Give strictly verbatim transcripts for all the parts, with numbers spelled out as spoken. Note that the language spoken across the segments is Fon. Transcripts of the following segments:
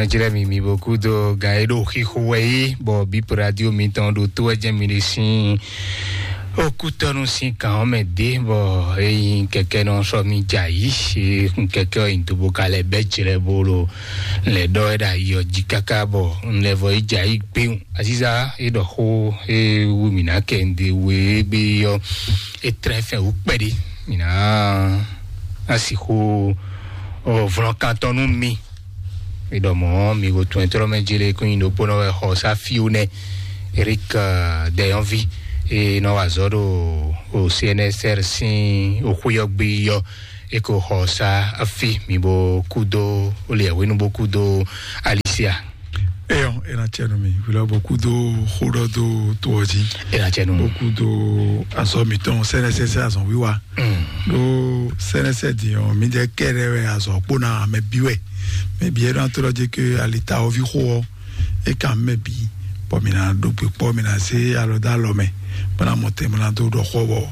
Jlɛ mi mi bo kúdo gan e ɖo xixo wɛ yí bɔ bípo radio mitɔn ɖo tó wɛ jẹ́ mi ɖe sín okútɔnu sín kan ɔ́ mɛ dé bɔ eyin kɛkɛ nɔ sɔ mi dza yí e kun kɛkɛ ɔ́ yin dobo ka lɛ bɛ jlɛ bo lo lɛ ɖɔ ɛ ɖa yi ɔ jí kaka bɔ n lɛ vɔ yi dza yí gbewun aziza e ɖɔ xó e wu mi na kɛ n de we e gbe yɔ e trɛ fɛn wú kpɛɖe mi na asi xó ɔ vlɔkantɔnu mi mi ɖɔ mɔ̌ mi go tun ɛtrɔ mɛ jele kún nyi ɖokpónɔ wɛ xɔ sá fiwu nɛ Eric Dɛyɔnvi e nɔ wa azɔ̌ ɖo o C N S R sín oxúyɔgbe yɔ e ko xɔ sá afi mi bo kúdó o le ɛwénu bo kúdó Alicia. Eyɔ, ena tsɛ nu mi wulɔ bo kúdó xóɖɔ dó tó ɔ jí. Ena tsɛ nu. Bo kúdó azɔ mitɔn sɛnɛsɛsɛ azɔ wíwa. Mm. Ɖó sɛnɛsɛ din ɔ mi dɛ kɛɖɛ wɛ azɔ kpó na amɛ bí wɛ. Mɛ bí ɛɖɔ to lɔ dzi ke alita ɔvi xó ɔ e kan mɛ bí bɔ mi na ɖo gbe kpɔ mi na se alɔ dó alɔ mɛ bɔ na mɔ tɛ mi na dó ɖɔ xɔ bɔ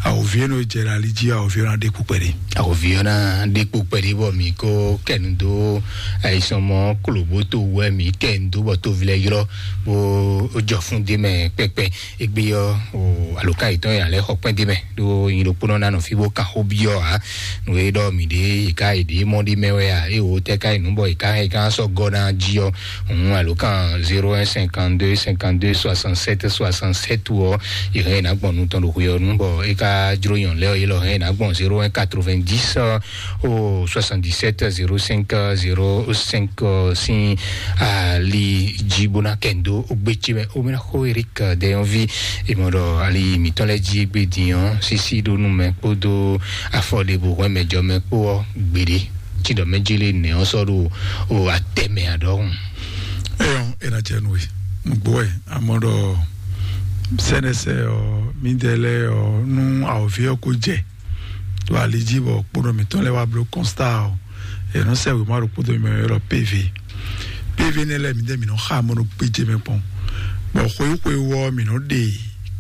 awòvi e nɔ jɛ ɖe ali jí awòvi e na ɖe kpukpɛ ɖe. Awòvi ɔ́ ná ɖe kpukpɛ ɖe bɔ mi ko kɛnu dó ayisɔn mɔ koloboto wɛ mi kɛnu dó bɔ tovi lɛ ylɔ bó jɔ fún dé mɛ kpɛkpɛ. Egbe ɔ́ o aloka yětɔn yě alɛ xɔ kpɛ́n dé mɛ ɖó nyi ɖokpónɔ ná nɔ fí bó kan xó byɔ́ ǎ. Nǔ e ɖɔ mǐ ɖe yě ká yě ɖě mɔ ɖé mɛ wɛ a é wǒ tɛ́ ká yi nǔ bɔ yě ká yě ká sɔ́ gɔ́ ná jí ɔ́. Hǔn alokan zéro un cinquante deux cinquante deux soixante sept soixante sept ɔ́ yě hɛn yě ná gbɔn nu tɔn ɖo xwe ɔ́ nú bɔ é ká jló nyɔ̌ lɛ́ ɔ́ yě lɔ hɛn yě ná gbɔn zéro un quatre vingt dix o soixante dix sept zéro cinq zéro cinq sín ali jí bó ná kɛ ndo ó gbé cí mɛ ó mɛ ná xó Eric Dɛyɔnvi. È mɔ ɖɔ ali mǐtɔn lɛ́ɛ jí égbé din ɔ́ sísí ɖó nú mɛ kpódó afɔ ɖěbǔ hwɛ́n mɛ jɔ mɛ kpó ɔ́ gbeɖé. Tí ɖɔ mɛ jélé nɛ̌ ɔ́ sɔ́ ɖo o atɛ mɛ aɖɔhun. Eyɔn, è nà jɛ nù e nùgbó wɛ amɔ ɖɔ sɛnɛsɛ ɔ mídɛɛ lɛ ɔ nú awɔvi ɔ kó jɛ to ali jí bɔ kpónɔ mǐtɔn lɛ wá bló kɔnstá ɔ è nɔ sɛ wěma ɖo kpódó mi mɛ ylɔ P V. P V nɛ lɛ mǐdɛɛ mǐ nɔ xa mɔ ɖo gbéjé mɛ kpɔn bɔ xweyíxwe wɔ mǐ nɔ ɖe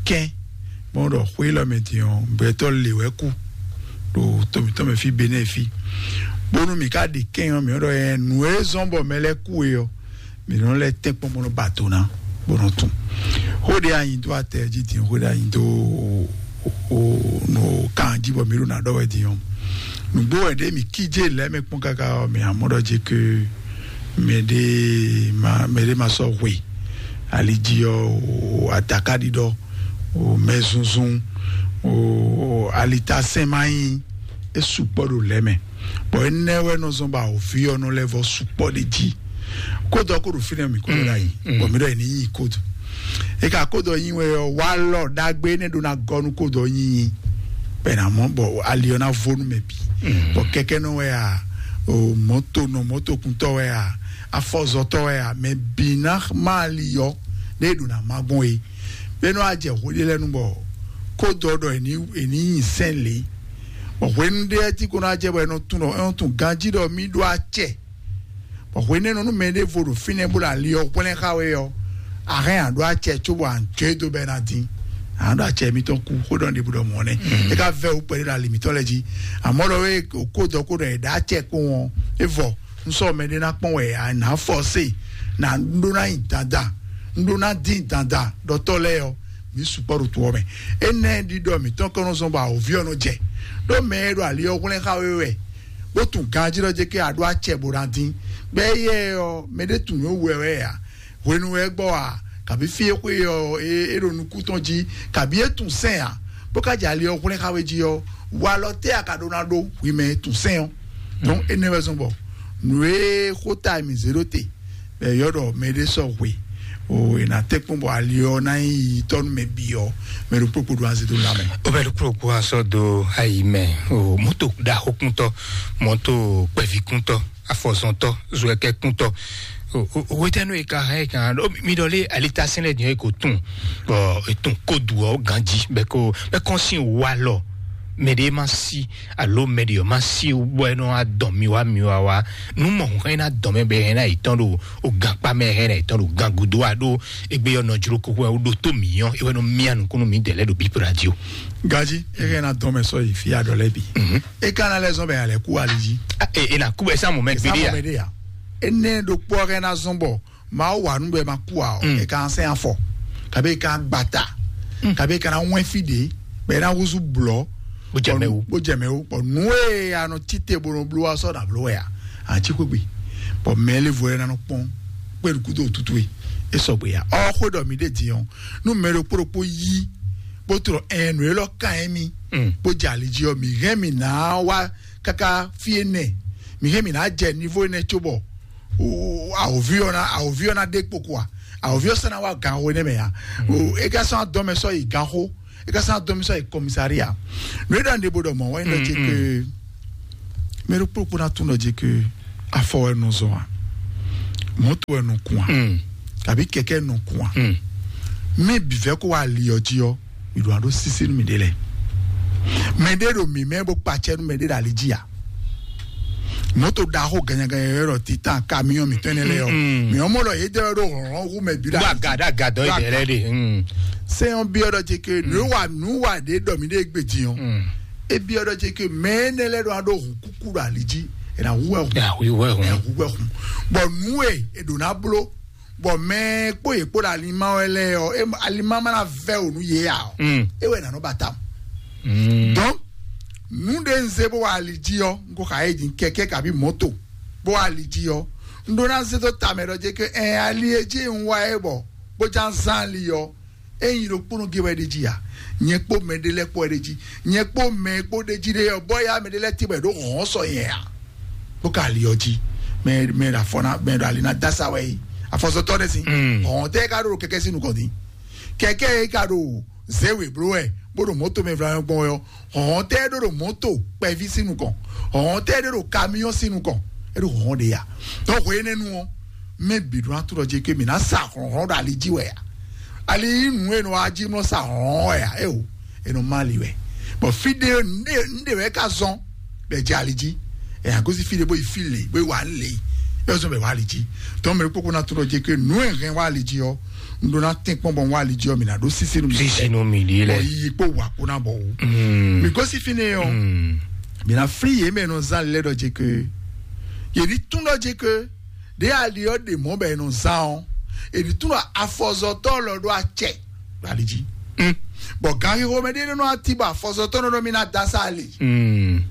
kɛn mɔ ɖɔ xwe lɔ mɛ din ɔ gbɛtɔ lè wɛ kú ɖo to mǐtɔn mɛ fí Benɛ fí bónú mǐ ká ɖe kɛn ɔ mǐ nɔ ɖɔ ɛ nǔ e zɔn bɔ mɛ lɛ kú e ɔ mǐ nɔ lɛ tɛ́nkpɔ́n bó nɔ ba do ná bó nɔ tún. Xó ɖé anyi dó atɛ jí din xó ɖé anyi dó o nɔ kan jí bɔ mǐ ɖo ná ɖɔ wɛ din ɔ́. Nǔgbó wɛ ɖé mǐ kíjé lɛ́ mɛ kpɔ́n káká ɔ́ mǐ amɔ ɖɔ jí ke mɛ ɖé ma mɛ ɖé ma sɔ́ hwe ali jí ɔ́ o atakaɖiɖɔ o mɛ zunzun o alitasɛn ma nyí é sukpɔ́ ɖo lɛ́ mɛ. Bɔ énɛ́ wɛ nɔ zɔn bɔ awǒvi ɔ́ nɔ lɛ́ vɔ sukpɔ́ ɖ'é jí. Kódɔ kó ɖo fínɛ́ mǐ kó ɖo ɖ'ayǐ bɔ mǐ ɖɔ è ní nyi kódɔ. É ka kódɔ nyi wɛ ɔ́, walɔ ɖagbe énɛ́ ɖó ná gɔ́ nú kódɔ nyinyi. Bɔ è nǎ mɔ bɔ ali ɔ́ ná vo nú mɛ bǐ. Bɔ kɛkɛ́nɔ wɛ a, o mɔ̌tonɔ mɔ̌tokuntɔ́ wɛ a, afɔzɔtɔ́ wɛ a, mɛ bǐ ná má ali ɔ́ ɖé ɖo ná má gbɔn é. Bɛ́ nɔ ajɛ hwe ɖé lɛ́ɛ nu bɔ kódɔ ɖɔ è ní è ní nyi sɛ́n lě. Bɔ hwenu ɖé ɔ́ tí kó ná jɛ bɔ è nɔ tunwun ɖɔ è nɔ tunwun ganjí ɖɔ mì ɖó acɛ. Bɔ hwenɛ́nu nú mɛ ɖěvo ɖo fínɛ́ bó ɖo ali ɔ́ hwlɛ́n xá we ɔ́, a hɛn a ɖó acɛ cóbɔ a jɔ é dó bɔ é ná dín. A nǎ ɖo acɛ mitɔn kú xó ɖɔ ɖěbǔ ɖɔ mɔ̌ nɛ́. É ka vɛ́ wú kpɛɖé ɖo ali mǐtɔn lɛ́ɛ jí. Amɔ̌ ɖɔ é kó dɔ kó ɖɔ è ɖǎ acɛ kpowun ɔ́, é vɔ. Un sɔ́ mɛ ɖé ná kpɔ́n wɛ a nǎ fɔ se, nǎ ɖó ná nyi dandan, un ɖó ná dín dandan ɖɔtɔ́ lɛ́ɛ ɔ́, mǐ sukpɔ́ ɖo to ɔ́ mɛ. Énɛ́ ɖiɖɔ mǐtɔn kɔn nɔ zɔn bɔ awǒvi ɔ́ nɔ jɛ. Ɖó mɛ e ɖo ali ɔ́ hwlɛ́n xá we wɛ, bó tunwun ganjí ɖɔ jɛ kí a ɖó acɛ bó ná dín. Bɔ éyɛ́ ɔ́, mɛ ɖé tunwun nǔ wɛ wɛ ǎ. Hwenu wɛ é gbɔ ǎ, kabǐ fí e xwé ɔ́, é é ɖo nukún tɔn jí, kabǐ é tunwun sɛ́n ǎ, bó ka jɛ ali ɔ́ hwlɛ́n xá we jí ɔ́, walɔ tɛ́ a ka ɖó ná ɖó hwi mɛ e tunwun sɛ́n ɔ́? Donc énɛ́ wɛ zɔn bɔ nǔ e xó ta mǐ zé ɖó te bɔ è ylɔ́ ɖɔ mɛ ɖé sɔ́ hwe o è nǎ tɛ́nkpɔ́n bɔ ali ɔ́ ná nyí yitɔ́ nú mɛ bǐ ɔ́, mɛ ɖokpó kpo ɖó azé dó ná mɛ. O bɛ ɖokpó kpo asɔ do ayi mɛ o mɔto ɖaxókúntɔ, mɔto kpɛvikúntɔ, afɔzɔntɔ, zuɛkɛkúntɔ. Wetɛnu e ka hɛn kan ɖo mi ɖɔ lé alita sɛnɛ diɛ ko tun bɔ etun ko du ɔ ganji bɛ ko bɛ kɔn sin wa lɔ mɛ ɖe ma si alo mɛ ɖe ma si bɔ ɛnɔ adɔn mi wa mi wa wa nu mɔ hɛn na dɔn mɛ bɛ hɛn na itɔn ɖo o gankpa mɛ hɛn na itɔn ɖo gangudo a ɖo egbe yɔ nɔjlo koko o ɖo to mi yɔn ewɛ nɔ mia nukunu mi dɛlɛ ɖo bipo radio. Gaji e hɛn na dɔn mɛ sɔ yi fi adɔ lɛ bi. E ka na lɛ zɔn bɛ alɛ ku ali ji. E na ku bɛ samu mɛ gbede ya. Énɛ́ ɖokpó ɔ́ hɛn ná zɔ́n bɔ Mawu wa nú bɔ è ma kú ǎ ɔ́, è ka ná sɛn afɔ, kabi è ka ná gbata, kabi è ka ná wɛn fí ɖě, bɔ è ná húzú blɔ̌, Bó jɛ mɛ wú. Bó jɛ mɛ wú. Bɔ nǔ e a nɔ cí te bó nɔ bló wá sɔ́ nǎ bló wɛ a, a cí xwé gbe. Bɔ mɛ e lé vo ɛ ná nɔ kpɔ́n kpé nukúdo tútú e é sɔgbe a. Ɔ xwé ɖɔ mi ɖe din ɔ́, nú mɛ ɖokpó ɖokpó yí bó tlɔ ɛn nǔ élɔ́ kan ɛ mi, bó jɛ ali jí ɔ́, mi hɛn mi ná wá káká fí énɛ́, mi hɛn mi ná jɛ nivo énɛ́ cóbɔ awòvi ɔ́ ná awòvi ɔ́ ná ɖe kpo kua, awòvi ɔ́ sɔ́ ná wá ganxo énɛ́ mɛ a. O, é ka sɔ́ adɔmɛ sɔ́ yi ganxo, é ka sɔ́ adɔmɛ sɔ́ yi kɔmisaria. Nǔ e ɖɔ nɖe bó ɖɔ mɔ̌ wɛ ɖɔ ce ke mɛ ɖokpó ɖokpó ná tún ɖɔ ce ke afɔ wɛ nɔ zɔn a, mɔ̌to wɛ nɔ kun a, kabi kɛkɛ nɔ kun a. Mɛ bǐ vɛ́ kó wá ali ɔ́ jí ɔ́, mi ɖo aɖó sísí nú miɖée lɛ́ɛ. Mɛɖé ɖo mǐ mɛ bó kpacɛ nú mɛɖé ɖo ali jí a? Mɔ̌to ɖaxó ganyaganya yɔ́yɔ́ ɖɔ titan kamiɔn mǐtɔn énɛ́ lɛ́ɛ ɔ́, mǐ ɔ́ mɔ ɖɔ yě dɛ wɛ ɖó hlɔ̌nhlɔ́n hú mɛ bǐ ɖo Wá ali jí. Gǎ ɖo agǎdɔ yi ɖɛ lɛ́ɛ ɖe. Sɛ́n ɔ́ byɔ́ ɖɔ ce ke nǔ e wa nǔ wa ɖě ɖɔ mǐ ɖe gbe din ɔ́, é byɔ́ ɖɔ ce ke mɛ énɛ́ lɛ́ɛ ɖo aɖó hun kúkú ɖo ali jí, è nǎ hu wɛ hun. Yà wí wɛ È hun. Nǎ hu wɛ hun. Bɔ nǔ e è ɖǒ ná bló, bɔ mɛ e kpó yě kpó ɖo alimá wɛ lɛ́ɛ ɔ́, é- alimá ma ná vɛ́ wǒ nú yě ǎ ɔ́, Mm. É wɛ nǎ nɔ ba tawun. Mm. Donc, nǔ ɖé un zé bó wá ali jí ɔ́, un ko xa yé din kɛkɛ kabi mɔto bó wá ali jí ɔ́, un ɖó ná zé dó tamɛ ɖɔ jɛ ke ɛn ali e jí un wá é bɔ bó já zán ali ɔ́, é nyi ɖokpónɔ gé wɛ ɖe jí a? Nyɛ kpó mɛ ɖé lɛ́ɛ kpó wɛ ɖe jí, nyɛ kpó mɛ e kpó ɖe jí ɖe ɔ́, bɔ ya mɛ ɖé lɛ́ɛ tibɔ ɖó hɔn sɔ nyɛ a? Bó ka ali ɔ́ jí, mɛ mɛ ɖo afɔ ná mɛ ɖo ali ná dasa wɛ yi, afɔsɔtɔ ɖe si. Mm. Hɔn tɛ ka ɖo kɛkɛ si nukɔn din, kɛkɛ yi ka ɖo zéwe bló wɛ, bó ɖo mɔto mɛ vla gbɔn wɛ ɔ́, hɔn tɛ ɖo ɖo mɔto kpɛví si nukɔn, hɔn tɛ ɖo ɖo kamiɔn si nukɔn, é ɖo hɔn ɖe ya. Donc hwe énɛ́ nu ɔ́, mɛ bǐ ɖó ná trɔ jí ké mǐ ná sa hlɔ̌nhlɔ́n ɖo ali jí wɛ a? Ali yí nǔ e nɔ wá jí mlɔ sa hlɔ̌nhlɔ́n wɛ a? É o, è nɔ má ali wɛ. Bɔ fí ɖé ńɖe ńɖe wɛ ka zɔn bɛ jɛ ali jí. Ɛ a gosí fí ɖé bó yi fí lě bó yi wá lě, é zɔn bɛ wá ali jí. Tɔn mɛ kpókpó ná trɔ jí ké nǔ e hɛn wá ali jí ɔ́, un ɖó ná tɛ́n kpɔ́n bɔ un wá ali jí ɔ́, mǐ ná ɖó sísí nú mi. Sísí nú mi ɖíe lɛ. Bɔ yiyi kpó wà kpó ná bɔ wú. Mm. Mǐ gosí fínɛ́ ɔ́, Mm. mǐ ná flí yě mɛ nɔ zán lɛ́ ɖɔ jí ké, yě ní tún ɖɔ jí ké, ɖě ali ɔ́ ɖe mɔ̌ bɔ è nɔ zán ɔ́, è nǐ tunwun afɔzɔtɔ́ lɔ ɖó acɛ ɖo ali jí. Mm. Bɔ ganxixo mɛ ɖé nɔ ati bɔ afɔzɔtɔ́ nɔ ɖɔ mì ná da sá ali. Mm.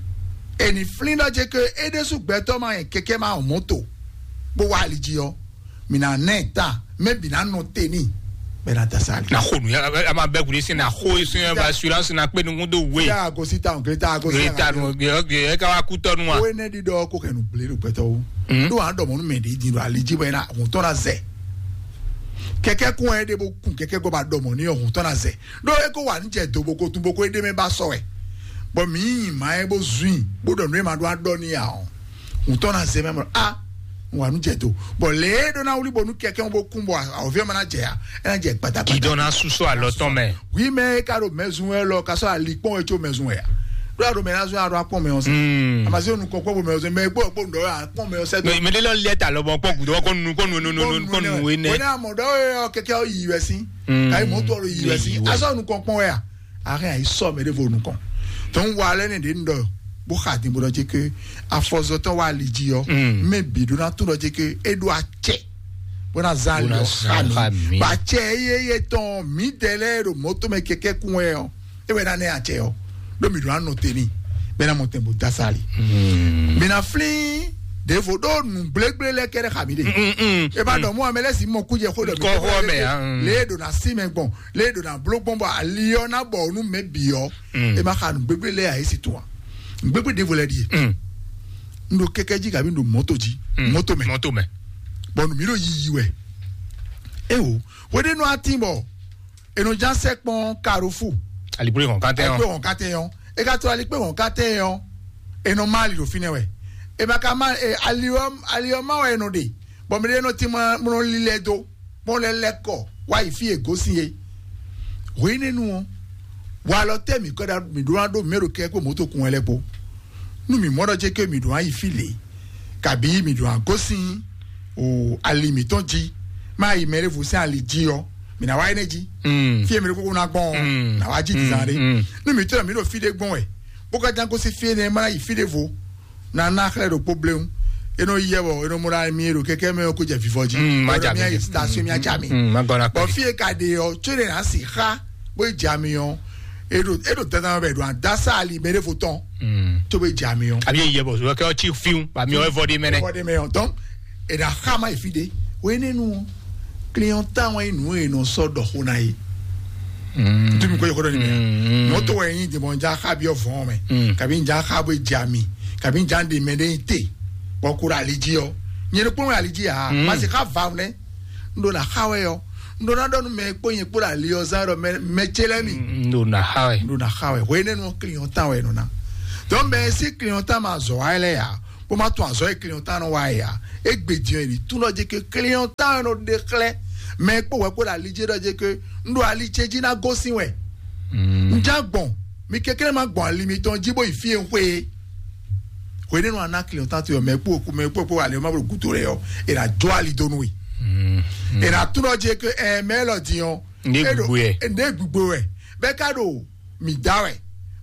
È nǐ flín ɖɔ jɛ ke é ɖésú gbɛtɔ́ ma nyɛ kɛkɛ ma mɔ̌to bó wá ali jí ɔ́, mì ná nɛ ta mɛ bǐ ná nɔ te n'i bɛ ná da sá ali. Na xo nu ya a ma bɛ kuli sin na xo sin ya ba assurance na kpe nukun do we. Ya gosi ta o gre ta gosi Gre ta nu ye ka wa kutɔ nu wa. Wo ne ɖi ɖɔ ko kɛ nu gblé ɖo gbɛtɔ wo. Mm. Ɖo a ɖɔ mɔ nu mɛ ɖe din ɖo ali jí bɔ ena hun tɔn na zɛ. Kɛkɛ kun ɛ ɖe bo kun kɛkɛ gɔ ba ɖɔ mɔ ni ɔ hun tɔn na zɛ. Ɖo e ko wa nu jɛ do bo ko tun bo ko e ɖe mɛ ba sɔ wɛ. Bɔ mi yi ma ɛ bo zui bo ɖɔ nu e ma ɖo a ɖɔ ni a ɔ. Hun tɔn na zɛ mɛ mɔ a wa nu jɛ do. Bɔ le e ɖo na wuli bo nu kɛkɛ bo kun bɔ a o vi ɔ ma na jɛ a e na jɛ gbadagba. Gidɔ na susɔ alɔ tɔn mɛ. Wi mɛ e ka ɖo mɛzun wɛ lɔ ka sɔ ali kpɔn wɛ tso mɛzun wɛ a. Ɖo a ɖo mɛ na zun a ɖo akpɔn mɛ ɔ sɛ. Mm. Amasi onu kɔkɔ bo mɛ ɔ sɛ mɛ gbɔ kpɔ ŋdɔ a kpɔn mɛ ɔ sɛ do. Mɛ mɛ de lɔ lɛ ta lɔ bɔ kpɔ gudɔ kɔ nu kɔ nu nu nu kɔ nu we nɛ. Wɛnɛ amɔ dɔ yɛ ɔ kɛkɛ ɔ yi wɛ si. Mm. Ayi mɔ tɔ lo yi wɛ si. Yi wɛ. Asɔ nu kɔn kpɔn wɛ a. Ahɛn ayi sɔ mɛ de vo nu kɔn. Tɔn wa lɛ ne de ndɔ bo xa din bo dɔ je ke afɔzɔtɔ wa ali ji ɔ. Mm. Mɛ bi do na to dɔ je ke e do acɛ. Bo na zan ali ɔ xa mi. Ba cɛ eye ye tɔn mi dɛ lɛ do mɔto mɛ kɛkɛ kun wɛ ɔ. E wɛ na nɛ acɛ ɔ. Ɖo mi ɖo anɔ te ni bɛ na mɔ tɛn bo da sa ali. Mi na flin ɖevo ɖo nu gblegble lɛ kɛɖɛ xa mi ɖe. E ba dɔ mɔ amɛ lɛ si mɔ kujɛ xo dɔ mi Kɔ xo mɛ, ah, mm. Le do na si mɛ gbɔn, le do na blo gbɔn bɔ ali ɔ na bɔ nu mɛ bi ɔ. E ma xa nu gbegble lɛ a esi to a. Gbegble ɖevo lɛ ɖie. N ɖo kɛkɛ ji kabi n ɖo mɔto ji. Mɔto mɛ. Mɔto mɛ. Bɔn nu mi ɖo yiyi wɛ. Ewo, wede nɔ ati bɔ enɔ ja sɛ kpɔn karofu. Alikpoli hɔn katɛ yɔ. Alikpoli hɔn katɛ yɔ. E ka to alikpoli hɔn katɛ yɔ. Enɔ ma ali ɖo finɛ wɛ. E ma ka ma e ali ɔ ali ɔ ma wɛ enɔ de. Bɔn mi ɖe enɔ ti ma mlɔ lilɛ do. Mɔ lɛ lɛ kɔ wa yi fi e gosin ye. Hwenɛnu ɔ, wa lɔ tɛ mi kɔ da mi ɖo na ɖo mi ɖo kɛ kó moto kun wɛ lɛ kpo. Nu mi mɔ ɖɔ jɛ ke mi ɖo na yi fi le. Kabi mi ɖo na gosin o ali mitɔn ji. Ma yi mɛ ɖevo sɛn ali ji ɔ. Mi na wa yi ne ji. Mm. Fi e mi ɖo koko na gbɔn ɔ. Mm. Na wa ji ti zan ɖe. Mm. Nu mi tɔ mi ɖo fi ɖe gbɔn wɛ. Bó ka jan gosin fi e ne ma na yi fi ɖe vo. Na na xlɛ ɖo kpo bleun. E nɔ yɛ bɔ e nɔ mɔ ɖa mi e ɖo kɛkɛ mɛ ɔ́ kó jɛ vivɔ jí. Mm, ma ja mi. Station mi aja mi. Mm, ma gɔna bɔ kpɛɖi. Fi e ka ɖe ɔ́ tso ɖe na si xa bó yi ja mi ɔ́, e ɖo e ɖo dandan bɛ ɖo adasa ali mɛ ɖe fo tɔn. Mm. Tó bɛ ja mi ɔ́. Abi yɛ bɔ sɔ kɛ ɔtí fiwu ba mi ɔ ɛvɔ de mɛ nɛ. Ɛvɔ de mɛ ɔ́, donc e na xa ma yi fi de. O ye ne nu ɔ́, client tan wɛ nu e nɔ sɔ ɖɔ xo na ye. Mm. Ntumi ko yɔkɔ dɔ ni mɛ. Mm, mm. Mɔtò wɛ yin dèmɔ ja xa bi ɔvɔn mɛ. Mm. Kabi ja xa bó ja mi. Kabi ja de mɛ de te. Bɔ ko ɖo ali ji ɔ. Nyɛ ɖo kpɔn wɛ ali ji a. Mm. Ma se xa va nɛ. N ɖo na xa wɛ ɔ. N ɖo na ɖɔ nu mɛ kpó nyɛ kpó ɖo ali ɔ zan ɖɔ mɛ mɛ tse lɛ mi. Mm, n ɖo na xa wɛ. N ɖo na xa wɛ. Hwe ne nɔ client tan wɛ nɔ na. Donc mɛ si client tan ma zɔ wa lɛ ya. Bó ma tún azɔ̌ e client tan nɔ wa ya. Egbe din ɛ ni tún nɔ jɛ ke client tan nɔ ɖe xlɛ. Mɛ kpó wɛ kpó ɖo ali ji ɖɔ jɛ ke n ɖo ali ce ji na gosín wɛ. Mm. N já gbɔn mi kɛkɛ ma gbɔn ali mitɔn ji bó yi fi e n xwe. Hwenɛ́nu a ná client tan to yɔ mɛ kpó mɛ kpó kpó ali ma bó gudo lɛ yɔ. E na jɔ ali donu yi. Mm. E na tún nɔ jɛ ke ɛ mɛ lɔ din ɔ. Nde gbogbo yɛ. Nde gbogbo wɛ. Bɛ ka ɖo mi da wɛ.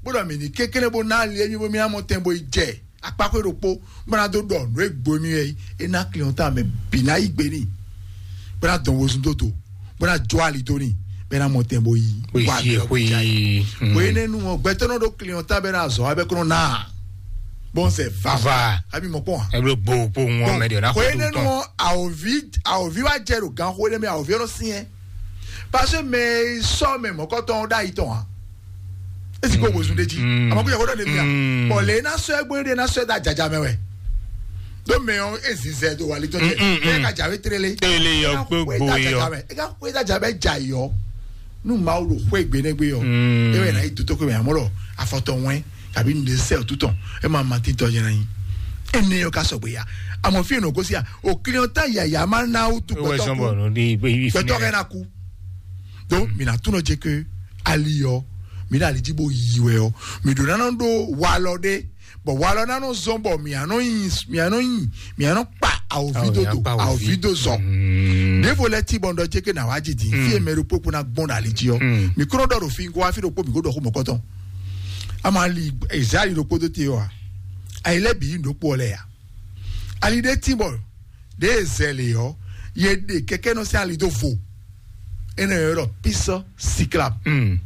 Bó ɖɔ mi ní kékeré bó ná ali émi bó mi amɔ tɛn bó yi jɛ. Akpákó ɖokpó bó ná dó ɖɔ nǔ e gbo mì wɛ é ná client mɛ bǐ ná yí gbe n'i bó ná dɔn wezun dó do bó ná jó ali dó n'i bó ná mɔ tɛn bó yí. Bó yí wá sí lɔ ẹ̀, bó yí. Bó yí nínú wọn gbɛtɔ́ nɔ ɖó client bɛ ná zɔ abɛ kɔnɔ ná bɔn sɛ vava. Vava. Abi mɔ kpɔn. Ẹ blo gbo gbo ŋɔ mɛ de o na xɔ tó tɔn. Nínú wọn àwòví àwòví wá jẹ ɖo gan xó ɖé mɛ àwòví ɔlọ sí yẹn parce que mɛ sɔ mɛ mɔkɔtɔn ɖ'ayi tɔn wa. Esi ko wezun ɖe jí. Mm. Àmọ́ kó yẹ kó dɔ ɖe mía. Mm. Bɔn lè na sɔ ẹgbẹ́ ɖe na sɔ ẹgbẹ́ àjàjà mɛ wɛ. Ɖó mɛ ɔn ezi zɛ do wali tɔn jɛ. Mm, mm, mm. Ẹ ka jà wé tere lé. Tele yɔ gbogbo yɔ. Ẹ ka kó ẹgbẹ́ àjà bɛ jà yɔ. Nú màá wò xó ẹgbẹ́ nẹgbẹ́ yɔ. Mm. Ẹ wẹ̀ náà yìí tó tó kó mẹ́ àmọ́ lọ afɔtɔ wẹ́n tàbí ní sẹ́ òtútọ̀ ẹ máa ma títọ́ yẹn náà yín. Ẹ ní yọ ká sọ̀gbẹ́ ya. Àmọ́ fi ènà kó sí à. Òkìlì ọ̀tá yàyà máa ń náwó tó Ẹ wẹ́ gbẹ́tọ́ sọ́nbọ̀ kú. Ní ibi ìfúnni Gbẹ́tọ́ rẹ̀. Rẹ̀ náà kú. Donc mi na tunɔ dze ke ali yɔ mi na ali dzi bo yi wɛ ɔ mi ɖo nana ɖo walɔ ɖe bɔn walɔ nanɔ zɔn bɔ mianɔ yi mianɔ yi mianɔ kpa awòvi Awo do ya do kpa awòvi. Awòvi do zɔ Mm. Ɖevo lɛ ti bɔn ɖɔ dze ke na wa dzi di Mm. fi emɛ ɖo kpokpo na gbɔn ɖo ali dzi ɔ Mm. Mi kúrò ɖɔ ɖo fi nkɔ wa fi ɖo kpo mi ko ɖɔ xo mɔkɔtɔ ama ali ezali ɖo kpo do te ɔ a ayi lɛ bi yi ɖo kpo ɔ lɛ ya ali ɖe ti bɔ ɖe zɛlɛ ɔ ye ɖe kɛkɛ nɔ sɛ ali do vo enɛ yɔ ɖɔ pisɔ sikla Mm.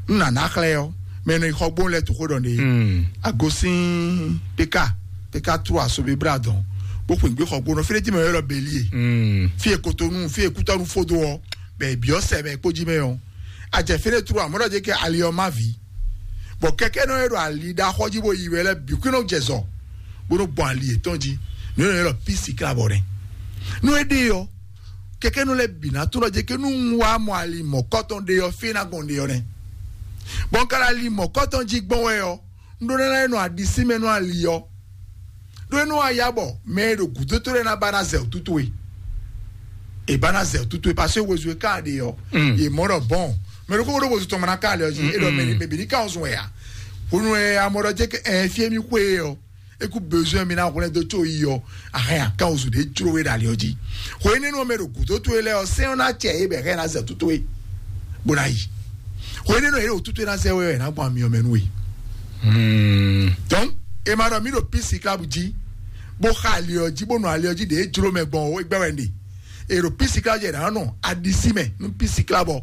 n nana xlɛ ɔ mɛ nɔ xɔ gbɔn lɛ to xo ɖɔ ne Mm. Agosin peka peka tro asobi bra dɔn bó kpin gbé xɔ gbɔn fi ɖe ti mɛ yɔ ɖɔ belie Mm. Fi ekotonu fi ekutɔnu fodo ɔ bɛ biɔ sɛ mɛ kpodzi mɛ ɔ ajɛ fi ɖe tro amɔ ɖɔ dze kɛ ali ɔ ma vi bɔn kɛkɛ nɔ yɔ ɖɔ ali ɖa xɔ dzi bo yi wɛ lɛ bi kú nɔ jɛ zɔ bó nɔ gbɔn ali yětɔn jí nú yɔ ɖɔ pisi kla bɔ nɛ nú e ɖe ɔ kɛkɛ nɔ lɛ bi na tó lɔ dze ke nú un wá mɔ ali mɔkɔtɔn ɖe ɔ fí na gbɔn ɖe ɔ nɛ bɔn kala ali mɔkɔtɔn jí gbɔn wɛ ɔ un ɖó nana nɔ aɖisí mɛ nú ali ɔ ɖó nú aya bɔ mɛ e ɖo gǔdo tó lɛ na ba na zɛ òtútù e e ba na zɛ òtútù e parce que wozu e ka ɖe ɔ Mm. Ye mɔ ɖɔ bɔn mɛ ɖo kókó ɖó wozu tɔn mɔ na ka le ɔ jí e ɖɔ mɛ mɛ bi ní ka ɔzun wɛ ya hunu ɛ amɔ ɖɔ dze ke ɛ fie mi xwe ɔ eku besoin mi na hwlɛn do tso yi ɔ ahɛn akan ozu ɖe jlo we ɖe ali ɔ jí hwe nínú mɛ ɖo gǔdo towe lɛ ɔ sɛn ɔ na cɛ ye bɛ hɛn na zɛ tutu we bó na yi hwe nínú yɛ ɖo tutu na zɛ wɛ na gbɔn ami ɔmɛ nú we donc e ma ɖɔ mi ɖo pisi klabu jí bó xa ali ɔ jí bó nɔ ali ɔ jí ɖe jlo mɛ gbɔn o egbɛ wɛ nɖe e ɖo pisi klabu jí ɛ na nɔ adisi mɛ nú pisi klabu ɔ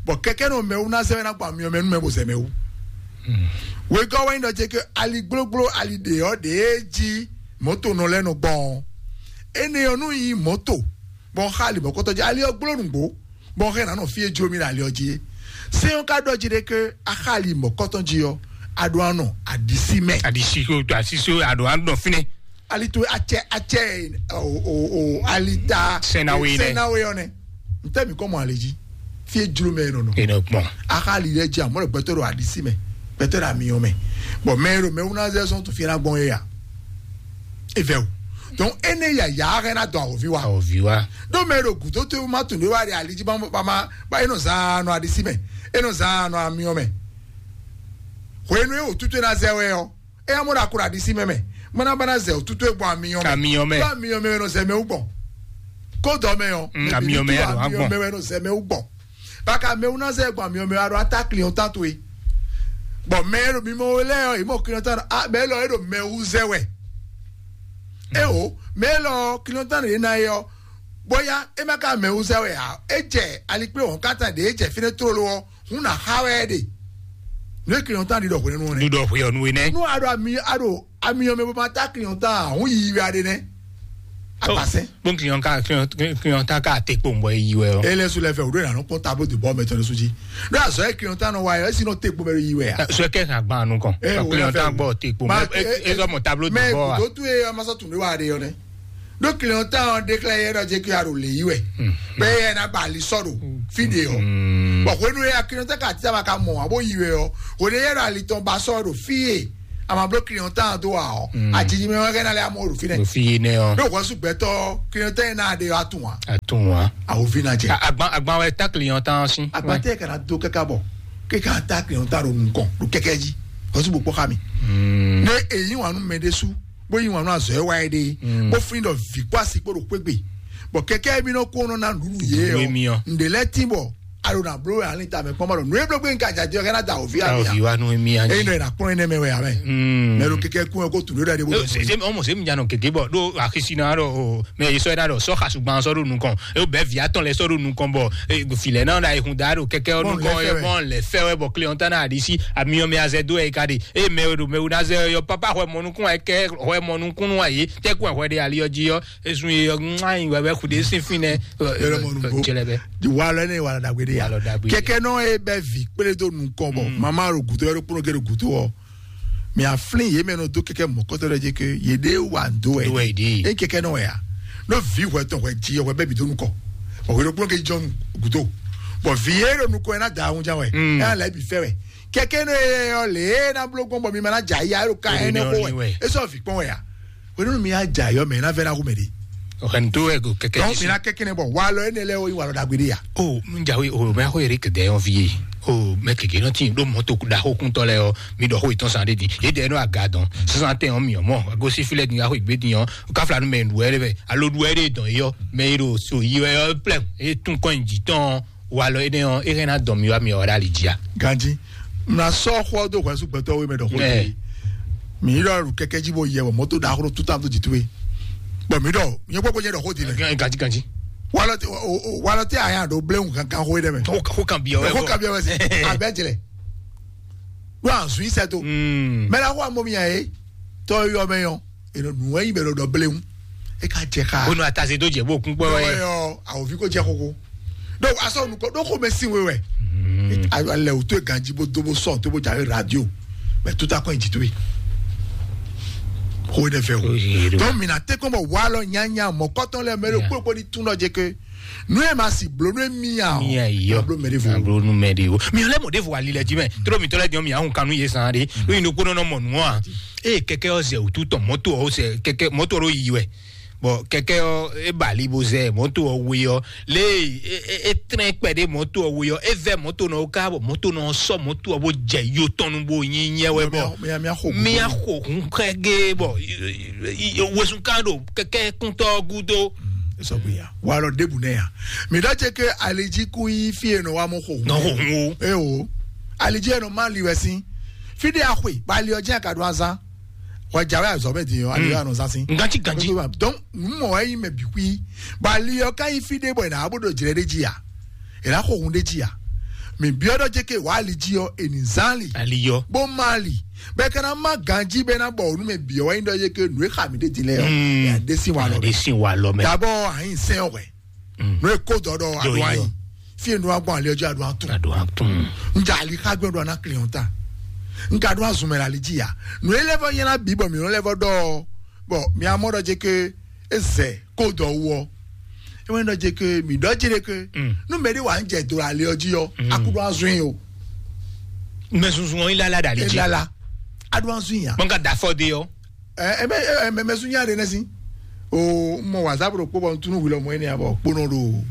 bɔn kɛkɛ nɔ mɛwu na zɛ wɛ na gbɔn ami ɔmɛ nú mɛ bó zɛ mɛwu wegɔ́ wɛ nyí ɖɔ ce ke ali gblógbló ali ɖě ɔ́ ɖě jí mɔ̌to nɔ lɛ́ɛ nɔ gbɔn ɔ́ énɛ́ ɔ́ nú nyí mɔ̌to bɔ un xa ali mɔ̌kɔtɔn jí ali ɔ́ gbló nǔgbó bɔ un hɛn nǎ nɔ fí e jló mì ɖo ali ɔ́ jí é sɛ́n ɔ́ ka ɖɔ jí ɖé ké a xa ali mɔ̌kɔtɔn jí ɔ́ a ɖo anɔ aɖisí mɛ aɖisí ko asísí aɖo anɔ fínɛ ali to acɛ acɛ o o o ali ta Sɛnawe nɛ. Sɛnawe ɔ́ nɛ ntɛ mi kɔ mɔ ali dzi fi e jlo mɛ nɔ nɔ e nɔ gbɔn a xa ali lɛ dzi amɔ lɛ gbɛtɔ ɖo aɖisi mɛ gbɛtɔ ɖo amiyɔ mɛ bɔn mɛ ɖo mɛ wuna zɛ sɔn to fi na gbɔn ye ya evɛ o donc ene ya ya hɛn na dɔn awɔvi wa awɔvi wa ɖo mɛ ɖo gudo to ma tun ɖe wa ɖe ali dzi ba ma ba ma ba enɔ zan nɔ aɖisi mɛ enɔ zan nɔ amiyɔ mɛ hwenu e wò tutu e na zɛ wɛ ɔ eya mɔ ɖo akura ɖi si mɛ mɛ mɔ na ba na zɛ o tutu egbɔ amiyɔ mɛ Amiyɔ mɛ. Ɖo amiyɔ mɛ wɛ nɔ zɛ mɛ wú gbɔn kó dɔ mɛ ɔ Mm, amiyɔ mɛ ya ɖo agbɔn. Amiyɔ mɛ wɛ nɔ zɛ mɛ wú gbɔn baka mɛ wú na zɛ gbɔn amiyɔ mɛ wa ɖo ata client tan to ye bɔn mɛ e ɖo mimɔ wo lɛ ɔ yi mɔ client tan a mɛ lɔ e ɖo mɛ wú zɛ wɛ E o, mɛ élɔ́ clientèle ɖě ná é ɔ́, bóyá é má ka mɛ wúzɛ wɛ ǎ, é jɛ alikpléhɔ̌nkátá ɖě é jɛ fínɛ́ tlóló ɔ́, hún ná xa wɛ é ɖe. Nú é clientèle ɖi ɖɔ hwenu ɔ́ nɛ́. Ɖuɖɔ hwɛ ɔnu é nɛ́. Nú a ɖo ami a ɖo ami ɔ́ mɛ bó ma tá clientèle ǎ, hún yiyi wɛ a ɖe nɛ́. Agbasɛn. Bon, clientèle, clientèle ka te kpowun bɔ é yi wɛ ɔ́. Ele su lɛ fɛ o ɖo na nɔ kpɔn tableau de bord mɛ tɔn ɖe su jí. Ɖo azɔ e clientèle nɔ wa yɔ, esi nɔ te kpo mɛ yi wɛ a. Sɔ kɛ kan gban nu kɔn. Eh, o clientèle gbɔ te kpo. Mɛ e zɔ mɔ tableau de bord a. Kutu e ma sɔ tun ɖe wa ɖe yɔ nɛ. Ɖo clientèle ɔn déclaré yɛ ɖɔ jɛ kí a ɖo le yi wɛ. Bɛ yɛ na ba ali sɔ ɖo fi de ɔ. Bɔn hwenu ya clientèle ka tita ma ka mɔ abo yi wɛ ɔ. Hwenu yɛ ɖɔ ali tɔn ba sɔ ɖo fi ye. A ma bló clientèle dó wa ɔ. Ajiji mɛ wɛ kɛ na lɛ amɔ ɖo fi nɛ. Ɖo fi yi nɛ ɔ. Ɖo hwɛsu gbɛtɔ clientèle na ɖe atun wa. Atun wa. Awo vi na jɛ. Agban agban wɛ ta clientèle si. Agban tɛ kana do kaka bɔ. Kɛ ka ta clientèle ɖo nukɔn ɖo kɛkɛ ji. Hwɛsu bɔ kpɔ xa mi. Ne èyí wà nú mɛ ɖé sú. Bó yí wàn nú azɔ̌ e wa é ɖe, bó flín ɖɔ vǐ kpó asi kpó ɖo xwé gbe, bɔ kɛkɛ émí nɔ kó nɔ ná nǔɖuɖu yě ɔ. Ǹɖě lɛ́ɛ tín bɔ a ɖo nǎ bló wɛ alín tamɛ kpɔ́n ma ɖɔ nǔ e bló gbé un ka jajɛ ɔ́ ká ná da wǒ fí amì ǎ. Avi wa nú émí á. Ényí nɔ è nǎ kplɔ́n énɛ́ mɛ wɛ ǎ mɛ. Mɛ ɖo kɛkɛ kún ɛ kó tǔ ɖé ɖɔ ɖé bó dɔ sɛ. Ɔmɔ sɛ mi nya nɔ gěgé bɔ ɖó axisi ná ɖɔ o mɛ yi sɔ ɛ ná ɖɔ sɔ xasugban sɔ ɖo nukɔn e bɛ via tɔn lɛ sɔ ɖo nukɔn bɔ filɛ náà ɖa ehun da ɖo kɛkɛ ɔ́ nukɔn ɔ́ mɔ lɛ fɛ wɛ bɔ clientèle náà ɖi sí amiyɔmɛ azɛ dó ɛ yi ka ɖe. Eye mɛ e ɖo mɛ wúnazɛ ɔ́ yɔ papa hwɛ mɔnukún wa kɛ hwɛ mɔnukúnnú wa yě tɛkún hwɛ ɖe ali ɔ́ jí ɔ́ ezun ye ɔ́ ŋá yi wɛ wɛ xu ɖe sín fínɛ́. Yɔrɔ mɔ nugbo. Jɛlɛ bɛ. Wa lɔ ne wa lɔ dagbe de ya. Wa lɔ dagbe. Kɛkɛ nɔ ye bɛ vi kpele do nukɔn bɔ mama ro gudo yɔrɔ kpɔnɔ ke do gudo ɔ. Mi aflin ye mɛ nɔ do kɛkɛ mɔ kɔtɔ dɔ je ke ye de wa do wɛ. Do wɛ de. E kɛkɛ nɔ ya. No vi hwɛ tɔn hwɛ ji hwɛ bɛ bi do nukɔ. Ɔ hwɛ do kpɔnɔ ke jɔnu gudo. Bɔn vi ye do nukɔ yɛ na da ahun jan wɛ. Ɛ ala bi fɛ wɛ. Kɛkɛ nɔ ye yɔ le na blo gbɔn bɔ mi ma na ja ya yɔrɔ ka yɛ ne ko wɛ. E sɔ vi kpɔn wɛ ya. Hwenu mi yá jà yɔ mɛ ná vɛ ná hu mɛ ɖi. Ɔ̀hɛn tó ɛ go kɛkɛ. Donc mi ná kɛkɛ nɛ bɔ wa lɔ ɛnɛ lɛ o yi wa lɔ dagbe ɖi ya. O nu jawe o mɛ ko yɛrɛ kɛdɛ yɔn fi ye. O mɛ keke nɔ ti ɖo mɔto da ko kuntɔ lɛ yɔ mi ɖɔ ko itɔn san de di e dɛ nɔ aga dɔn sisan tɛ yɔn mi yɔ mɔ agosi filɛ di ya ko igbe di yɔn kafla nu mɛ nu wɛ de bɛ alo nu wɛ de dɔn yɔ mɛ yi ɖo so yi wɛ yɔ plɛ e tun kɔn ji tɔn. Walɔ énɛ́ ɔ́, é hɛn ná dɔn mì wá mi ɔ́ ɖo ali jí a? Ganjí, mla sɔ́ xɔ dó hwɛ̌ sú gbɛtɔ́ wé mɛ ɖɔ xó dó é. Mǐ ɖɔ ɖo kɛkɛ jí bó yɛ wɔ mɔ̌ tó ɖaxó ɖó tútá dó jǐ towe. Bɔn mǐ ɖɔ nyɛ gbogbo nyɛ ɖɔ xó din mɛ. Ganjí ganjí. Walɔ tɛ o- o- walɔ tɛ a yà ɖo bléwu kankan xó ɖɛ mɛ. Xó kan bi ɔwɛ. Xó kan bi ɔwɛ sɛ abɛ jlɛ. Ɖo azun yi sɛ to. Mɛ la xó amɔ mi yà é. Tɔ yɔ mɛ yɔ. Eno nù wɛ yi bɛ ɖo ɖɔ bléwu. E ka jɛ xa. Bonu ataze dó jɛ bó kún kpɔ́ wɛ. Yɔ awòvi ko jɛ xóxó. Donc asɔ nukɔ ɖo xó mɛ sin we wɛ. Alɛ wò tó ganji bó dó bó sɔ tó bó jawe radio. Mɛ tuta kɔn jì tó yi. Xó ɖe fɛ o. Donc mina tɛ kɔn bɔ walɔ nyanya mɔ kɔtɔn lɛ mɛ ɖo kpókpó ni tún nɔ jɛ ke. Nu e ma si blo nu e mi ya o. Mi ya yɔ. Blo mɛ de vo. Blo nu mɛ de o. Mi lɛ mo de vo ali lɛ ji mɛ. Tro mi tɔ lɛ diɔ mi ahun kanu ye san de. Lo yin do kpónɔ nɔ mɔ nu a. Eye kɛkɛ ɔ zɛ wòtú tɔn mɔto ɔ zɛ kɛkɛ mɔto ɔ ɖo yi wɛ. Bɔn kɛkɛ ɔ e ba ali bo zɛ mɔto ɔ we ɔ le e trɛn kpɛ de mɔto ɔ we ɔ e vɛ mɔto nɔ ka bɔ mɔto nɔ sɔ mɔto ɔ bo jɛ yo tɔn nu bo nyi nyɛ wɛ bɔ. Mia xo hun kɛgɛ bɔ wesun kan ɖo kɛkɛ kuntɔ gudo. Sɔgbe ya. Walɔ debu nɛ ya. Mi ɖɔ tse ke alidzi ku yi fi e nɔ wa mo xo. Nɔ xo hun o. E o. Alidzi e nɔ ma li wɛ sin. Fi de axwe ba ali ɔ dzi a ka ɖo azan. Wa dza wɛ azɔ bɛ di yɔ ali yɔ anɔ zan sin. Ganti ganti. Donc nu mɔ wɛ yi mɛ bi kui. Ba ali ɔ ka yi fi de bɔ yina abo ɖo dzrɛ de dzi ya. E na xo hun de dzi ya. Mi biɔ ɖɔ tse ke wa alidzi ɔ e ni zan li. Ali yɔ. Bo ma li. Bɛ kana ma ganji bɛ na bɔ onu mɛ biɔ wɛ yi ɖɔ ye ke nu e xa mi de di lɛ yɔ. Ya de si wa lɔ. De si wa lɔ mɛ. Dabɔ ayin sɛn wɛ. Nú e kó dɔ ɖɔ aɖo anyi. Fi e nú agbɔn ali ɔjɔ aɖo atún. Aɖo atún. N ja ali xá gbɛ ɖo ana client ta. N ka ɖo azun mɛ ali dzi ya. Nú e lɛ vɔ nyɛ na bi bɔ mi nɔ lɛ vɔ ɖɔ bɔ mi amɔ ɖɔ dze ke ezɛ kó dɔ wɔ. E wɛ ɖɔ dze ke mi ɖɔ dze ɖe ke. Nú mɛ ɖe wà ń jɛ do ali ɔjɔ yɔ. Aku ɖo azun yi o. Mɛ sunsun wọn ilala ɖe ali dzi. Ilala. Aɖo azun ya. Kpɔn ka da fɔ de yɔ. Ɛ ɛmɛ ɛmɛ mɛ sun nya ɖe nɛ si. O mɔ wazap ɖo kpó bɔ ntunu wi lɔ mɔ ɛnɛ abɔ kpónɔ ɖo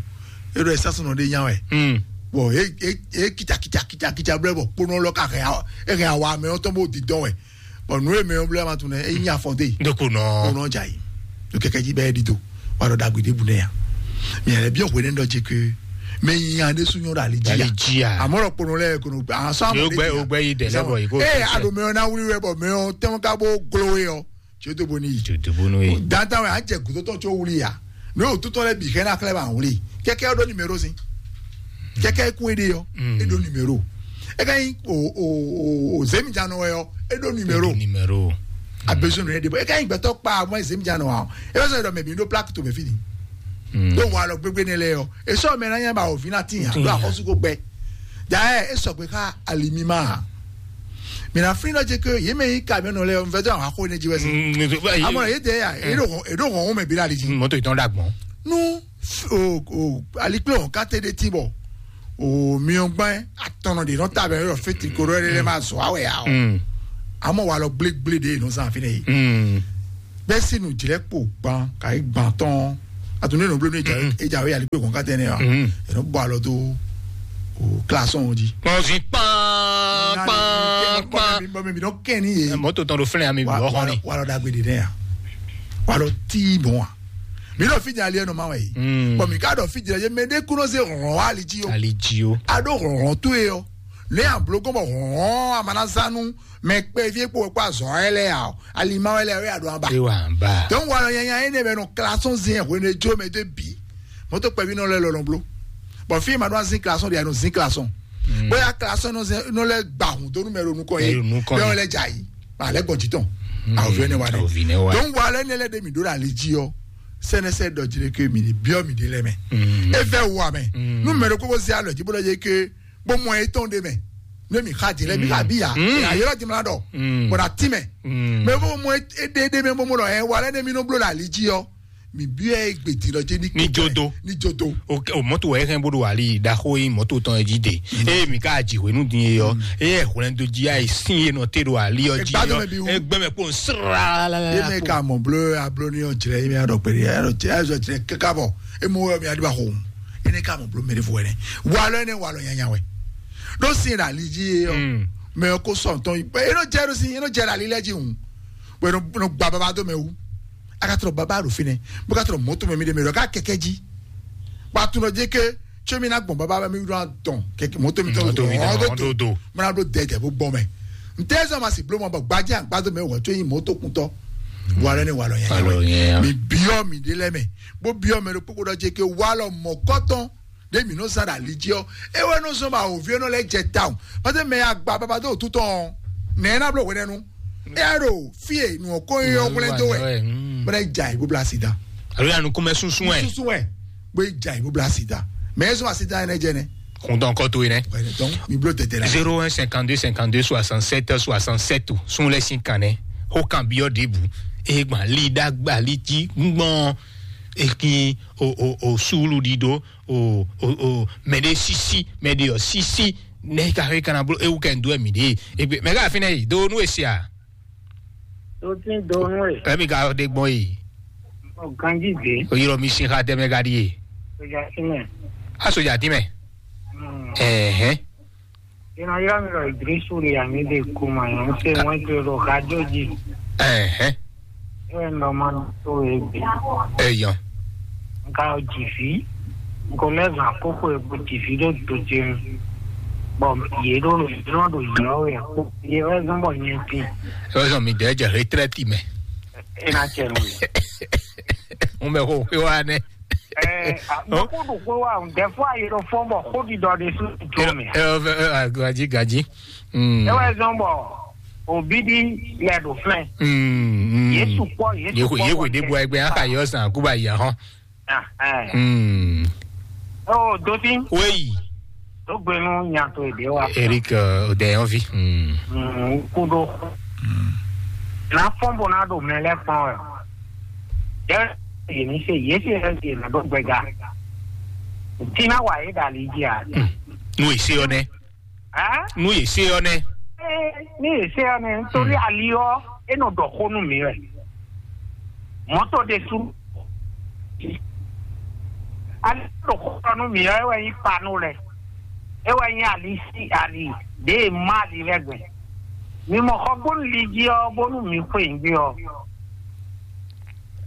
eɖo ɛsasɔnɔ ɖe nya wɛ. Bɔn e e e kita kita kita kita blɛ bɔ kpónɔ lɔ ka hɛn awa e hɛn awa mɛ ɔtɔn b'o di dɔn wɛ. Bɔn nu e mɛ ɔ blɛ ma tun nɛ e nya fɔ de. Ndeko nɔ. Kpónɔ dza yi. Do kɛkɛ ji bɛ e di do. Wa ɖɔ dagbe ɖe bu nɛ ya. Mi yɛrɛ bi ɔhwe ne ɖɔ dze ke. Mɛ nya ɖe sun nyɔ ɖo ali dzi ya. Ali dzi ya. Amɔ ɖɔ kpónɔ lɛ kono asɔ amɔ ɖe dzi ya. Ogbɛ yi dɛ lɛ bɔ yi ko. Ee aɖo mɛ ɔ na wuli wɛ bɔ mɛ ɔ tɛmɛ ka bo glo ye ɔ. Tso to bo ní yi. Tso to bo ní yi. Dantan wɛ a jɛ gutotɔ tso wuli ya. N'o yóò tutɔ lɛ bi hɛn na xlɛ ba wuli. Kɛkɛ ɔ́ ɖó nimero si. Kɛkɛ kún e ɖe yɔ. E ɖó nimero. E ka yin o o o o zemi jan nɔ wɛ yɔ. E ɖó nimero. Nimero. A besoin de ne de bɔ. E ka yin gbɛtɔ kpa mɔ zemi jan nɔ wa. E bɛ sɔ yɛ dɔ mɛ bi ɖó plaque to mɛ fi ni. Ɖó wa lɔ gbégbé ne lɛ yɔ. E sɔ mɛ na nya ba o vi na ti nya. Ɖó akɔsu ko gbɛ. Ja ɛ e sɔgbe xa alimima. Mina fín ɖɔ jɛ ke yě mɛ yí kamiɔnɔ lɛ ɔn fɛtɔ àwọn akó ne jí wɛ sí. Amɔ yé tɛ ya, eɖo hɔn eɖo hɔn wɔn mɛ bi la di jí. Mɔtò ìtàn dàgbọn. Nu o o alikplé hɔn káté ɖe tí bɔ o miɔ gbɛn atɔnɔ de nɔ ta bɛ yɔrɔ fɛtiri ko ɖɔ ɛɖɛ ma zɔ awɛ ya o. Amɔ wa lɔ gblégblé de nɔ zan fi ne yi. Bɛ́ sí nǔjlɛ́kpo gban ka yi gban tɔn. Atu ne nɔ bló ne ejawe yali kpe kɔn katɛ ne wa. Enɔ bɔ alɔ to o klasɔn o di. Mɔzi kpán kpán kpán. Bɔ mi mi nɔ kɛ ni ye. Mɔtò tɔn ɖo flɛn ami bi ɔxɔ ni. Walɔ dagbe de ne ya. Walɔ tii bɔn wa. Mi lɔ fi jali ɛnɔ ma wɛ yi. Bɔn mi ka dɔ fi jali ye mɛ de kunɔ se hɔn wa ali ji o. Ali ji o. A ɖo hɔn to ye o. Ne a blo gɔn bɔ hɔn a ma na zanu. Mɛ kpɛví e kpo wɛ kpó azɔ̌ wɛ lɛ́ɛ ǎ, alima wɛ lɛ́ɛ wɛ a ɖo aba. E wa ba. Donc walɔ nyanya énɛ́ bɛ nɔ klaxon zin hwenu e jó mɛ dó bǐ. Mɔtò kpɛví nɔ lɛ lɔlɔ bló. Bɔn fí ma ɖó azin klaxon ɖe a nɔ zin klaxon. Bóyá klaxon nɔ zin nɔ lɛ gba hun dó nú mɛ ɖo nukɔn yé. Bɛ wɛ lɛ dza yi. Ma lɛ gbɔn jitɔn. Awo fi ne wa dɛ. Donc walɔ énɛ́ lɛ ɖe mi ɖó la ali jí ɔ. Sɛnɛsɛ dɔ jire ke mi ni biɔ mi ɖe lɛ mɛ. E fɛ wu amɛ. Nú mɛ ɖo kókó zé alɔ jí bó lɔ yé ke bó mɔ etɔn ɖe mɛ. Ne mi xa di lɛ mi xa bi ya. Ayɔrɔ di mla dɔ. Bɔn na ti mɛ. Mɛ bó mɔ eɖe ɖe mɛ bó mɔ dɔ ɛ wa lɛ ne mi nɔ blo la ali jí ɔ. Mi bi ɛ gbedi lɔ jɛ ni. Ni jodo. Ni jodo. O mɔto wɛ hɛn bó do ali daxo yi mɔto tɔn ɛ jí de. Eye mi ka ji hwenu din ye yɔ. Eye hwlɛn do jí ayi sin ye nɔ te do ali ɔ jí yɔ. Egbe mɛ kpɔn sra. Ye mɛ ka mɔ blo ablo ni ɔ jrɛ ye mɛ adɔ kperi adɔ jrɛ azɔ jrɛ kaka bɔ. Emu wɛ mi adi ba xo. Ene ka mɔ blo mɛ de fo wɛ nɛ. Walɔ ne walɔ nyanya wɛ. Ɖó sin ɖe ali dzi ye ɔ. Mɛ ɔ ko sɔ ntɔn yi. E nɔ jɛ ɖo sin, e nɔ jɛ ɖe ali lɛ dzi hùn. Bɔ e nɔ gba baba dó mɛ wú. A ka trɔ baba ɖo fi nɛ. Bó ka trɔ mɔto mɛ mi ɖe mɛ ɖɔ ká kɛkɛ dzi. Ba tunɔ dzi ke tso mi na gbɔn baba mi ɖo dɔn kɛkɛ mɔto mi tɔ Mɔto mi tɔ dɔn do. Mɛ na ɖo dɛdɛ bó gbɔ mɛ. N tɛ zɔ ma si blo mɔ bɔ gbadzi agbado mɛ wɔ tso yi mɔto kuntɔ. Walɔ ne walɔ yɛ. Mi biɔ mi ɖe lɛ mɛ. Bó biɔ mɛ ɖo kpokpo ɖɔ dzi ke walɔ mɔ kɔtɔn. Ɖé mǐ nɔ zán ɖo ali jí ɔ́, é wɛ nɔ zɔ́n bɔ awǒvi ɔ́ nɔ lɛ́ jɛ tawun. Pàtó mɛ agba baba dó òtú tɔn ɔ́, nɛ̌ ná bló hwenɛ́nu? É wá ɖo fí e nǔ ɔ́ kó nyí ɔ́ hwlɛ́n dó wɛ, bó ná yi ja yi bó blá asi dá. Alo ya nukúnmɛ súnsún ɛ. Súnsún wɛ, bó yi ja yi bó blá asi dá. Mɛ é zɔ́n asi dá ɛnɛ jɛ nɛ. Kúntɔn kɔ tó yi nɛ. Wɛ nɛ tɔn, mi bló tɛtɛ la. Zéro un cinquante-deux cinquante-deux soixante-sept soixante-sept. Sún lɛ sín kan nɛ. Ó kan byɔ́ ɖěbǔ. Égbàn lí ɖá gbà lí jí gbɔn. Ekin o o o súlu ɖiɖó o o o mɛ ɖe sisi mɛ ɖe ɔ sisi ne ka xɔ kana blo ewu kɛ ndo mi ɖe egbe mɛ ka fi ne yi do nu esia. Tó tí ń do nú ẹ̀. Emi ka de gbɔn yi. Ọ̀gánjì dé. O yọrọ mi sin xa tẹ mɛ ka di ye. Sójà sí mẹ́. A soja ti mɛ. Ɛhɛn. Ina yira mi lɔ Idrisu le ami de kuma yan se wọn ke lɔ ka joji. Ɛhɛn. E lɔ ma to e bi. Eyan. Nka jifi. Nko le zan koko e bu jifi do do jin. Bɔn ye do lo yɔrɔ do yɔrɔ ye ko ye wɛ zan bɔ nye ti. Ɔ zɔn mi dɛ jɛ retraite mɛ. E na cɛ nu. N bɛ ko pe wa nɛ. Ɛɛ, a- mɔkɔ ɖo xwe wa o, des fois a yi ɖo fɔn bɔ xó ɖiɖɔ ɖe su jɔ mɛ. Ɛ ɔ fɛ ɛ ɔ gaji gaji. Mm. E wɛ zɔn bɔ obi di lɛ ɖo flɛ. Mm, mm. Yesu kpɔ Yesu Yehu kpɔ yehu de bɔ ɛgbɛ aka yɔ san kuba yi ahɔn. Ah, ɛɛ. Mm. O doti. Weyi. Tó gbénu nya tó èdè wa. Eric uh, Odeyanvi. Mm. Mm, kudo. Mm. Na fɔn bo na do mɛ lɛ kpɔn ɛ. Yɛ yìí ní ṣe yìí ṣe ẹ ṣe nà dó gbẹga. Tí náà wà yé dàlí jí a. Nú èsì ọ nẹ. Ẹ́? Nú èsì ọ nẹ. Ní èsì ọ nẹ nítorí àlíọ́ ẹnu dọ̀kọ́ nù mí rẹ̀. Mọ́tò de sú. Àlíọ́ dọ̀kọ́ nù mí rẹ̀ ẹ wẹ̀ yín panu rẹ̀. Ẹ wẹ̀ yín àlí sí àlí dé má àlí rẹ̀ gbẹ̀. Mi mɔ xɔ gbónú li jí ɔ bónú mi xwe ń gbé ɔ.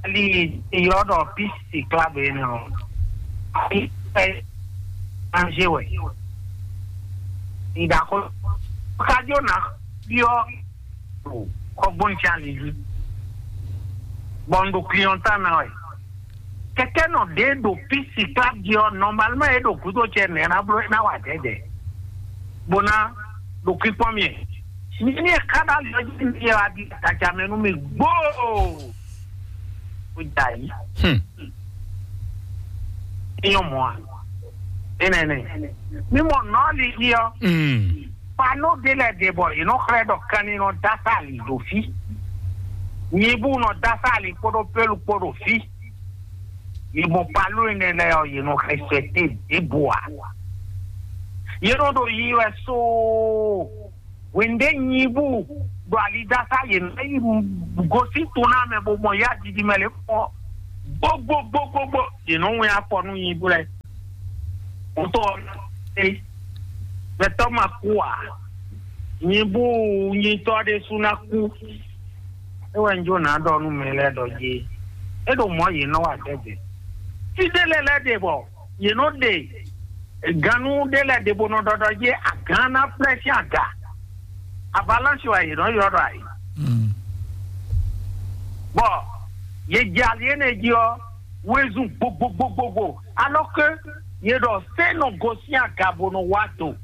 Ali yɔ ɖɔ pisi club ene ɔ. Ali ɛ ange wɛ. Idako kajo na biɔ kɔgbɔn ti ali ju. Bɔ un ɖo client ná wɛ. Kɛkɛ nɔ ɖe ɖo pisi club jí ɔ, normalement e ɖo gúdo cɛ nɛ ná bló ná wa dɛdɛ. Bó ná ɖo kpíkpɔ́n mi. Mi ní e ká ɖo ali ɔ́ jí mi yɛ wá di tadza mɛ nú mi gbóò. Ó dza yí. Hmm. Nyɔmɔ a? Enɛnɛ. Mi mɔ nɔ ali jí ɔ. Hmm. Pano ɖé lɛ ɖe bɔ yě nɔ xlɛ́ ɖɔ kanni nɔ dá sá ali ɖo fí. Nyibu nɔ dá sá ali kpódó pélu kpó ɖo fí. Yě mɔ palo énɛ́ lɛ́ɛ ɔ́, yě nɔ xɛsɛte ɖěbǔ ǎ. Yě nɔ ɖo yi wɛ soo. Hwěndé nyibu ɖo alidasa yě nɔ yi gosín to ná mɛ bó mɔ yá jiji mɛ lě kpɔ́n. Gbogbogbogbogbò, yě nɔ wɛn afɔ nú nyibu lɛ́ɛ. Wotɔ ɔ́, gbɛtɔ́ ma kú ǎ. Nyibu nyitɔ́ ɖésú ná kú. É wɛ un jó ná ɖɔ nú mɛ lɛ́ɛ ɖɔ jí é ɖo mɔ̌ yě nɔ wa dɛ́dɛ. Fí ɖé lɛ́ɛ lɛ́ɛ ɖe bɔ yě nɔ ɖe gannú ɖé lɛ́ɛ ɖe bó nɔ ɖɔɖɔ jí agán ná flɛ́ sín aga. Avalanche wɛ yě nɔ ylɔ́ ɖɔ ayǐ. Bɔ yě jɛ ali énɛ́ jí ɔ́, wezun gbogbogbogbogbò, alɔ ke yě ɖɔ sɛ́ nɔ gosín aga bó nɔ wá do.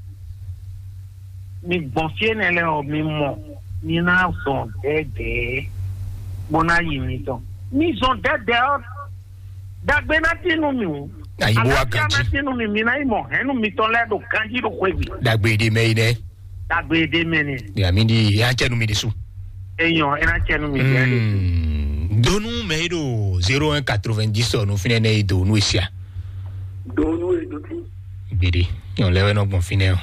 Mi gbɔn fí énɛ́ lɛ́ɛ ɔ́, mi mɔ, mi ná zɔn dɛ̌dɛ̌ bó ná yi mitɔn. Mi zɔn dɛ̌dɛ̌ ɔ́, dagbe ná tín nú mi wú. Ayibo wa Alafia ná ganjí. Tín nú mi, mi ná yi mɔ hɛ̌nnu mitɔn lɛ́ɛ ɖo ganjí ɖo xwé gbe. Dagbe ɖe mɛ yi nɛ. Dagbe ɖe mɛ nɛ. Ya mi di ya cɛ nu mi di su. Eyɔn, ena cɛ nu mi di ya de. Hmm. Donu mɛ yi ɖo zéro un quatre-vingt-dix ɔ nu finɛ nɛ yi do nu esia. Donu e do ti. Gbede. Yɔn lɛ wɛ nɔ gbɔn finɛ o.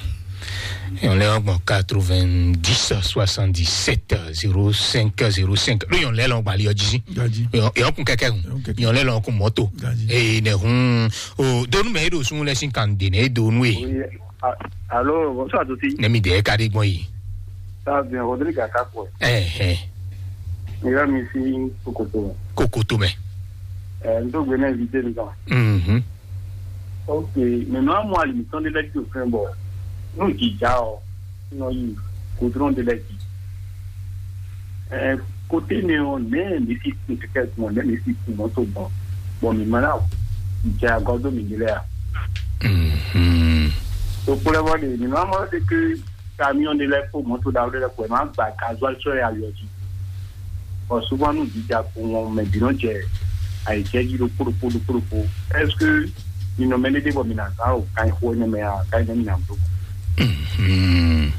Yɔn lɛ wɛ gbɔn quatre-vingt-dix soixante-dix-sept zéro cinq zéro cinq. Ɖo yɔn lɛ lɔ gbali ɔ jí. Gaji. Yɔn kun kɛkɛ kun. Yɔn kɛkɛ. Yɔn lɛ lɔ kun mɔto. Gaji. Ee ne hun o donu mɛ yi ɖo sun lɛ sin kan de ne do nu e. Oui. A- Allô, bonsoir à tous. Ne mi de ka de gbɔn yi. Ça va bien, Rodrigue Akakwe. Eh eh. Il va me ici Kokoto. Kokoto mɛ. Euh, nous sommes venus inviter nous. Mhm. Ok, maintenant moi, il me semble que tu fais bon. Nous, déjà, non, il coudron de la vie. Euh, côté néon, mais, mais si c'est quelqu'un, mais si c'est mon bon. Bon, mais maintenant, j'ai un gordon, mais il est là. Mhm. Donc, pour avoir des, mais moi, c'est que camion de la pour moto da wɛrɛ ko ma gba gasoil sɔ ya yɔ ji. Bon, souvent nous dit ya pour mon mais bino je ayi je ji do kuro kuro kuro. Est-ce que you know many people mina ka o kai ho ne me a kai ne mina do. Mhm.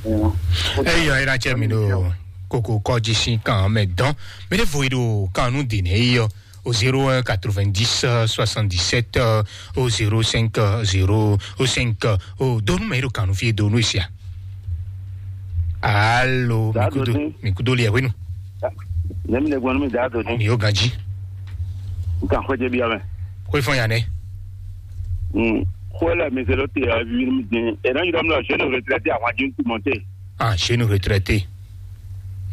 Eyo era che mi do koko kɔji sin kan mɛ dɔn. Mi de vo do kan nu de ne yo. Au zéro un quatre-vingt-dix soixante-dix-sept au zéro cinq zéro cinq. O donu mɛ ɖo kanu fie donu esia. Alo, mi kudo, mi kudo li ɛwenu. Nemi le gbɔnu mi da do ni. Mi yo ganji. Nkan xwe je bi ame. Xwe fɔn ya nɛ. Hmm. Xwe le mi zelo te a vi mi din. E na yira mi la jeune retraité a wa jin tu monte. Ah, chez nous retraité.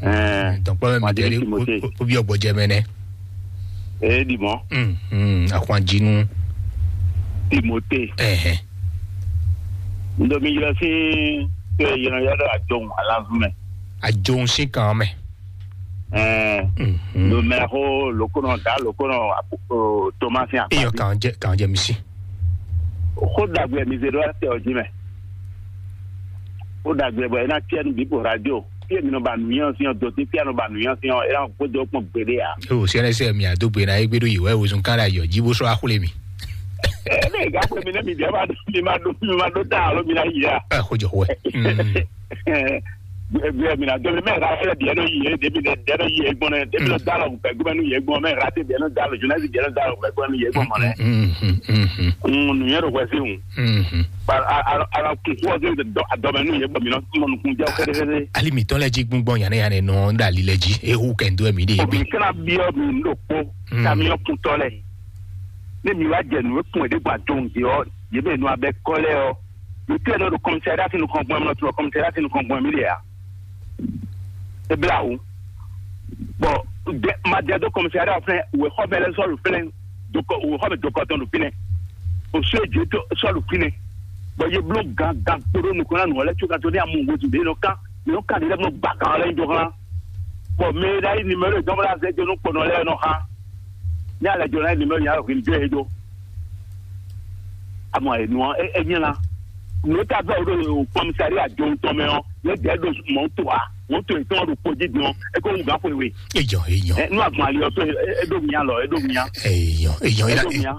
Ɛɛ, donc pas même Madame Timothée. Ou bien Bodjemene. Eh, dis-moi. Hum, hum, à quoi dis-nous? Timothée. Eh, eh. Ndomi yɔ si pe yɔ yɔ do ajon alazume. Ajon si kan mɛ. Ɛɛ. Hum, hum. Lo mɛ ho lo kono da lo kono Thomas ya. Iyo kan je kan je misi. Xó ɖagbe mi zé ɖó ase ɔ jí mɛ. Xó ɖagbe bɔ é ná tiɛ nú bǐ po radio. Fí e mi nɔ ba nǔnywɛ́ ɔ́ sín ɔ́, dǒ tí fí a nɔ ba nǔnywɛ́ ɔ́ sín ɔ́, é ná xwedó kpɔ́n gbeɖé ǎ. O sɛnɛsɛ mi a dó gbe na égbé ɖó yě wɛ wezun kán ɖo ayɔ jí bó sɔ́ axwlé mi. Ɛ ne gǎ xwe mi nɛ mi dɛ ma ɖó mi ma ɖó mi ma ɖó ta alo mi ná yi a. Ɛ xojɔ xwe. Gbɛ mi na dɔn mɛ ra fɛ diɛ nɔ yi yɛ debi dɛ diɛ nɔ yi yɛ gbɔn nɛ debi nɔ da lɔ gbɛ gbɛ nu yɛ gbɔn mɛ ra te diɛ nɔ da lɔ jonas diɛ nɔ da lɔ gbɛ gbɛ nu yɛ gbɔn mɔ nɛ. Nuyɛ ɖo wɛsi ŋu. Ala kun fɔ de adɔmɛ nu yɛ gbɔn mi nɔ mɔ nukun jɛ kɛdɛkɛdɛ. Ali mi tɔn lɛ ji gbɔngbɔn yanɛ yanɛ nɔ da li lɛ ji ehu kɛndo mi de. Obi kana biɔ mi ndo kpo kamiɔ kuntɔ lɛ. Ne mi wa jɛ nu ekun ɛdi gba jɔn di ɔ yɛ bɛ nu abɛ kɔ lɛ ɔ. Mǐ kplé ɖɔ ɖo kɔmísariát nukɔn gbɔn mɛ, nɔ tunɔ kɔmísariát nukɔn gbɔn mǐ ɖe ǎ. É blá wǔ. Bɔ madɛ dó kɔmísariát fɛn wěxɔmɛ lɛ́ɛ sɔ́ ɖo fínɛ́, wěxɔmɛ dokɔ tɔn ɖo fínɛ́. Òsú èjì tó sɔ́ ɖo fínɛ́. Bɔ yě bló gǎn gǎn kpódó nukɔn ná nǔ ɔ́ lɛ́ɛ có gán tó ní amú wezun ɖě nɔ kán, nǔ nɔ kán ɖě lɛ́ɛ nɔ gba gǎn ɔ́ lɛ́ɛ nyi dó xlán. Bɔ mɛ e ɖo ayǐ nimero e dɔn bó ná zɛ jó nú kpɔnɔ lɛ́ɛ nɔ xá. Ní alɛ jɔ náà ní mɛ nya hwin jɔ e ɖó. Amɔ enu ɔ e nyɛ la. Nú ta bɛ o ɖo kɔmisari ajo tɔn mɛ ɔ, ne dɛ ɖo mɔto a, mɔto etɔn ɖo kpodzi dɔn, e ko ŋu gafo we. Ejɔ ejɔ. Ɛ nu agbɔn ali ɔtɔ e ɖo mia lɔ, e ɖo mia. Ejɔ ejɔ. E ɖo mia.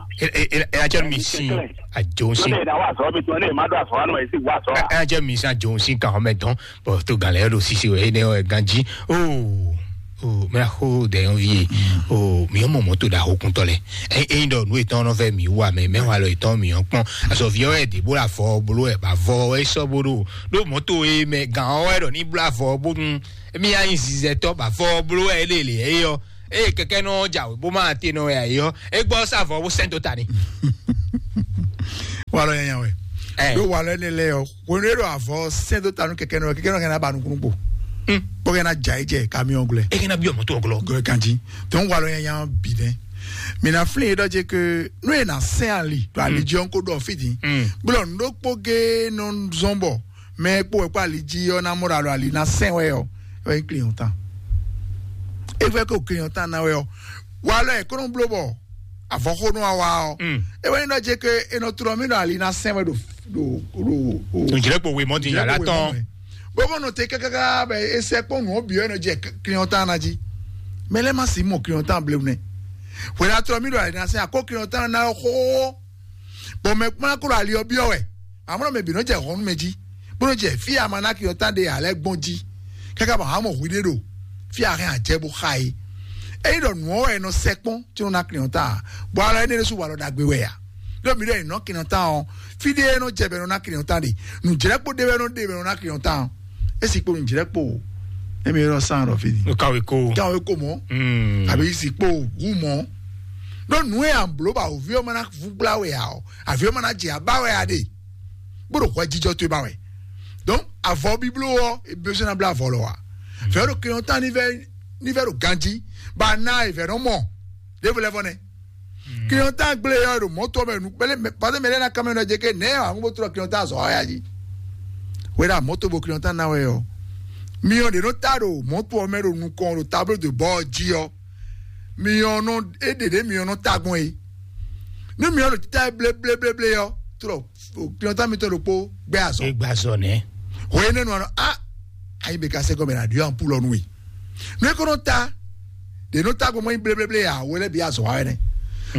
Ela cɛ mi sin ajo sin. Tɔn ne da wa sɔ mi tɔn ne ma do asɔ wa nɔ esi wa sɔ wa. Ela cɛ mi sin ajo sin kan xɔmɛ dɔn. Bɔn to gan lɛ ɖo sisi wɛ ne ɔ ganji. Oo. Oo, mɛ xo dɛ yɔn vie. Oo, mi yɔ mɔ mɔto da hokuntɔ lɛ. Ɛ ɛ ɖɔ nu etɔn nɔ fɛ mi wa mɛ mɛ wa lɔ etɔn mi yɔ kpɔn. Azɔ vi ɔwɛ de bó la fɔ bolo ɛ ba vɔ ɛ sɔ bó ɖo ɖo mɔto e mɛ gan ɔwɛ ɖɔ ní bla fɔ bónú mi ya nyi zizɛtɔ ba fɔ bolo ɛ lele ɛ yɔ. Eye kɛkɛ nɔ jawe bó ma te nɔ ɛ yɔ. E gbɔ sa vɔ bó sɛn dó ta ni. Walɔ yanya wɛ. Ɛ. Ɖo walɔ ne lɛ yɔ. Hwenu e ɖo avɔ sɛn dó ta nú kɛkɛ nɔ kɛkɛ nɔ kɛ na ba nukúnnú kpo. Kpɔ kɛ na dza yi jɛ kamiɔn gblɛ. E kɛ na bi ɔmɔ tó ɔglɔ. Gblɛ kanji. Tɔn walɔ yanya bi nɛ. Mina flin e ɖɔ je ke nu e na sɛn ali ɖo ali jí ɔn ko ɖɔ fiti. Gblɔ nu ɖokpo ge nɔ zɔn bɔ mɛ kpo wɛ kpo ali jí ɔ na mɔ ɖo alo ali na sɛn wɛ ɔ. E wɛ nyí client tan. E fɛ ko client tan na wɛ ɔ. Walɔ e kɔnɔ blo bɔ avɔxónú wa wá ɔ. E wɛ nyí ɖɔ je ke e nɔ tlɔ mí ɖo ali na sɛn wɛ ɖo ɖo ɖo. Nùjìlẹ́pọ̀ wé mọ́ ti yàrá tán. Bóbó nɔ te kákáká bɛ esɛ kpɔn nù ɔbí ɔyɛ nɔ jɛ client tan na jí. Mɛ lɛ ma si mɔ client tan blewu nɛ. Wɛ na tlɔ mí ɖo ali na sɛn akó client tan na xóxó. Bɔn mɛ kpɔn akó ɖo ali ɔbí ɔwɛ. Amɔnɔ mɛ bǐ nɔ jɛ hɔn nú mɛ jí. Bó nɔ jɛ fí ama na client tan ɖe alɛ gbɔn jí. Káká bɔ hamɔ hwi ɖé ɖo. Fí ahɛn ajɛ bó xa é. Eyi ɖɔ nù ɔwɛ nɔ sɛ kpɔn tí nɔ na client tan. Bɔ alɔ ɛnɛ ɖésú walɔ ɖagbe wɛ ya. Ɖɔ mi ɖɔ ìnɔ kinɔ tán ɔ, fí ɖé nɔ jɛ bɛ nɔ ná kinɔ tán ɖe, nǔjlɛ́kpó ɖé wɛ nɔ ɖe bɛ nɔ ná kinɔ tán ɔ. Esi kpo nǔjlɛ́kpó o, emi yɔrɔ sán ɖɔ fí ni. Kawe ko. Kawe ko mɔ. Àbí si kpo wu mɔ. Ɖɔ nǔ e àbló ba òví ɔmɔ ná vú gbla wɛ a ɔ, àví ɔmɔ ná jɛ abá wɛ a ɖe. Bó ɖo hwɛ jijɔ towe ba wɛ. Donc avɔ bíbló ɔ, ebi sɔn ná bla avɔ lɔ wa. Fɛ ɖo kinɔ tán ní vɛ ní vɛ ɖo ganjí, ba ná ìvɛ nɔ mɔ. Ɖěvo lɛ́ vɔ nɛ́. Client gblé ɔ́ ɖo mɔ̌ tɔn mɛ nú kpɛlɛ mɛ pàtó mɛ lɛ́ ná kanmɛ nɔ jɛ ké nɛ̌ àwọn bó tlɔ client azɔ ɔ́ yá jí. Wɛ ɖo mɔ̌ tó bo client ná wɛ ɔ́. Miɔ ɖě nɔ ta ɖo mɔ̌ tɔn mɛ ɖo nukɔn ɖo tablo de bɔ jí ɔ́. Miɔ nɔ é ɖě ɖě miɔ nɔ ta gbɔn é. Nú miɔ ɖo títá blé blé blé blé ɔ́, tlɔ client mitɔn ɖokpó gbɛ azɔ. Gbɛ azɔ nɛ. Hwɛ énɛ́ nɔ a ayi bɛ ka sɛ gɔmɛ na ɖiɔ ampulɔ nú we. Nú é ko nɔ ta ɖě nɔ ta gbɔn mɔ nyi bléblé a wo lɛ́ bǐ azɔ wa wɛ nɛ.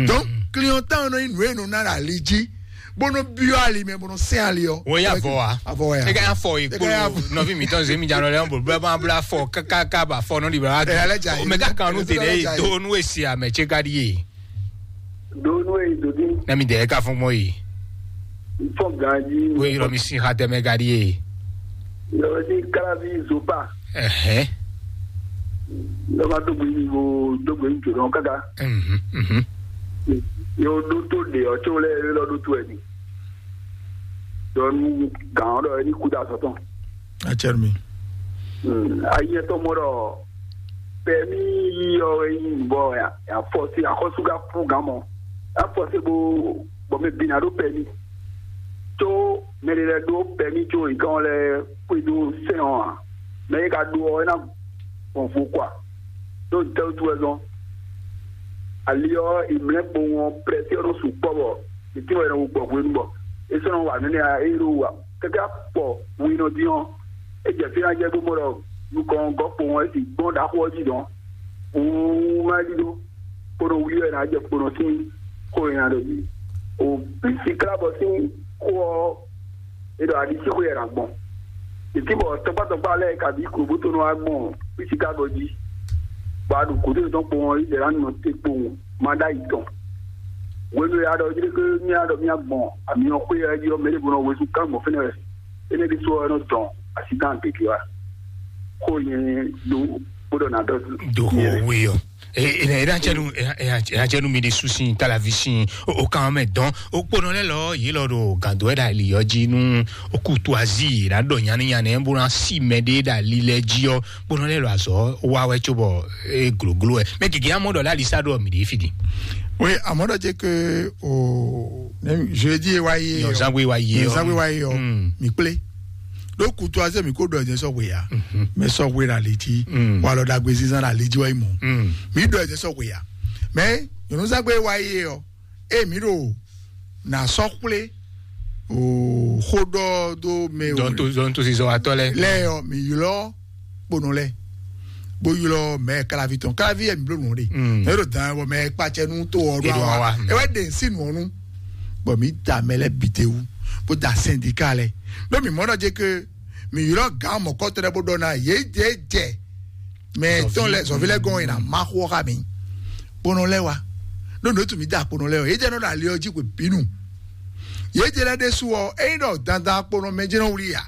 Donc client tan nɔ nyi nǔ e nɔ ná ɖo ali jí bó nɔ byɔ́ ali mɛ bó nɔ sɛn ali ɔ. Wo ya vɔ wa. Avɔ ya. E ka ya fɔ yi kpolo nɔvi mi tɔn zemi jan lɛ bolo bla bla fɔ kaka ka ba fɔ nɔ di bla. Ɛ alɛ ja yi. Mɛ ka kan nu te ɖe do nu esi amɛ tse ka di ye. Do nu e do di. Na mi de e ka fɔn gbɔn yi. Fɔn ganji. Wo yi lɔ mi si ha tɛmɛ ka di ye. Lɔ di kalavi zopa. Ɛhɛn. Lɔ ma dogbe yi wo dogbe yi jodɔn kaka. Mhm, mhm. Yo do to de ɔ tso lɛ lɔ do to ɛ di. Dɔnu gan ɔ dɔ ɛ ni kuda sɔtɔn. Atsɛrɛ mi. Ayi ɛtɔ mɔ dɔ pɛmi yi ɔ ɛ yi bɔ ya fɔ si akɔsu ka ku gan mɔ. Ya fɔ si bo bɔ mi bi na do pɛmi. Tso mɛ ɖe lɛ ɖó pɛmi tso nyikan lɛ xwedó sɛn ɔ́ ǎ. Mɛ e ka ɖó ɔ́, é ná gbɔn vo kɔ a? Ɖó ntɛ́ wútu wɛ zɔn? Ali ɔ́, è mlɛ́ kpowun ɔ́, prɛ́sí ɔ́ nɔ sukpɔ́ bɔ è tín wɛ è nɔ wu gbɔ hwenu bɔ é sɔ́ nɔ wa nǔ énɛ́ ǎ. Ée ɖó wa kɛ́kɛ́ kpɔ winɔ dín ɔ́, é jɛ fí ná jɛ bó mɔ ɖɔ nukɔn ɔ́ gɔ́ kpowun ɔ́, é sixú gbɔn ɖaxó ɔ́ jí dɔn. Wúwú má ɖíɖó. Kpódó wlí wɛ ná jɛ kpódó sín xó e nya ɖɔ jí. O bí siklá bɔ sín xó ɔ́, é ɖɔ aɖisíxwé wɛ ná gbɔn. Títí bɔ tɔkpátɔkpá lɛ́ɛ kabí klobótonɔ wá gbɔn bí siklá bɔ jí. Bɔ a ɖo gǔdo yětɔn kpowun ɔ́, Izlayɛ́li nɔ te kpowun má ɖó ayi tɔn. Hwenu e a ɖɔ jí ɖé mía ɖɔ mía gbɔn amyɔxwé ɔ́ jí ɔ́, mɛ ɖěvo nɔ wezun kán gbɔn fínɛ́ wɛ. Énɛ́ ɖésú ɔ́ nɔ dɔn asi tán gěgé wá. Xó nyɛ ɖó bó ɖɔ ná ɖɔ. Do xó wé ɔ. Ena ena tsɛnu ena tsɛnu mi ɖi susi talavi si o kan mɛ dɔn o kponɔ lɛ lɔ yi lɔ ɖo gando ɛ ɖa li yɔ dzi nu o kutu azi la ɖɔ nyani nyani bo na si mɛ ɖe ɖa li lɛ dzi ɔ kponɔ lɛ lɔ azɔ wa wɛ tso bɔ e gloglo ɛ mɛ gege amɔ ɖɔ la li sa ɖɔ mi ɖe fi di. Oui, amɔ ɖɔ dze ke o jeudi wa ye. Nyɔzangbe wa ye. Nyɔzangbe wa ye ɔ mi kple. Ɖó kutu azé mi kó ɖɔ ɛdɛ sɔ hwe ya. Mɛ sɔ hwe ɖo ali jí. Walɔ ɖagbe zizan ɖo ali jí wá yi mɔ. Mi ɖɔ ɛdɛ sɔ hwe ya. Mɛ nyɔ̌nuzangbe wa yi ɔ, eye mǐ ɖo nǎ sɔ́ xwlé o xó ɖɔ dó mɛ o. Dɔnto dɔnto zizɔ atɔ lɛ. Lɛ ɔ, mǐ ylɔ́ kponɔ lɛ, bó ylɔ́ mɛ kalavi tɔn, kalavi yɛ mǐ bló nǔ ɖe. Mm. Mɛ ɖo dan bɔ mɛ kpacɛ nú to ɔ ɖo Eɖo awa awa. Mm. Ewɛ ɖe nsí nǔ ɔnu, bɔ mǐ da mɛ lɛ bite wu, bó da sɛndika lɛ. Ɖó mǐ mɔ ɖɔ jɛ ke mǐ ylɔ́ gǎn mɔ̌kɔtɔn lɛ bó ɖɔ ná yě jɛ jɛ mɛ tɔn lɛ zɔvi lɛ gɔn yìí na ma xɔ xa mi. Kponɔ lɛ wa, ɖo nǔ tu mi da kponɔ lɛ o, yé jɛ nɔ ɖo ali ɔ jí xwe bínú. Yé jɛ lɛ ɖésú ɔ, eyi ɖɔ dandan kponɔ mɛ jɛ nɔ wuli ya,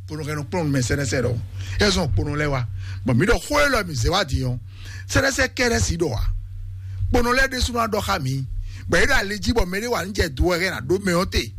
kponɔ kɛ nɔ kplɔn mɛ sɛnɛsɛ ɖɔ, yɛ zɔn kponɔ lɛ wa. Bɔn mi ɖɔ xó e lɔ mi zɛ wa di ɔ, sɛnɛsɛ kɛ lɛ si ɖɔ wa. Kponɔ lɛ ɖésú nɔ ɖɔ xa mi, bɔ yé ɖo ali jí bɔ mɛ ɖé wa ní jɛ do wɛ hɛn na ɖó mɛ ɔ te.